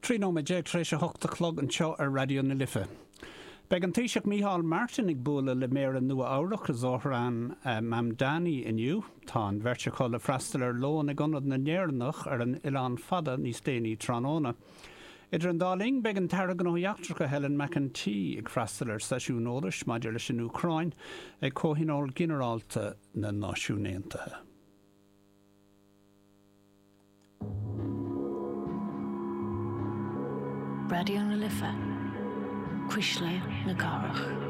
13 nóiméad tar éis a hocht a chlog anseo ar Raidió na Life. Beidh an Taoiseach Micheál Martin ag bualadh le Méara Nua-Eabhrac, Zohran Mamdani inniu. Tá an bheirt acu le freastal ar lón ag Ionad na nÉireannach ar an Oileán Fada níos déanaí tráthnóna. Idir an dá linn, beidh an tAire Gnóthaí Eachtracha Helen McEntee ag freastal ar seisiún eolais maidir leis an Úcráin ag Comhthionól Ginearálta na Náisiún Aontaithe. Raidió na Life, Cuisle na Cathrach.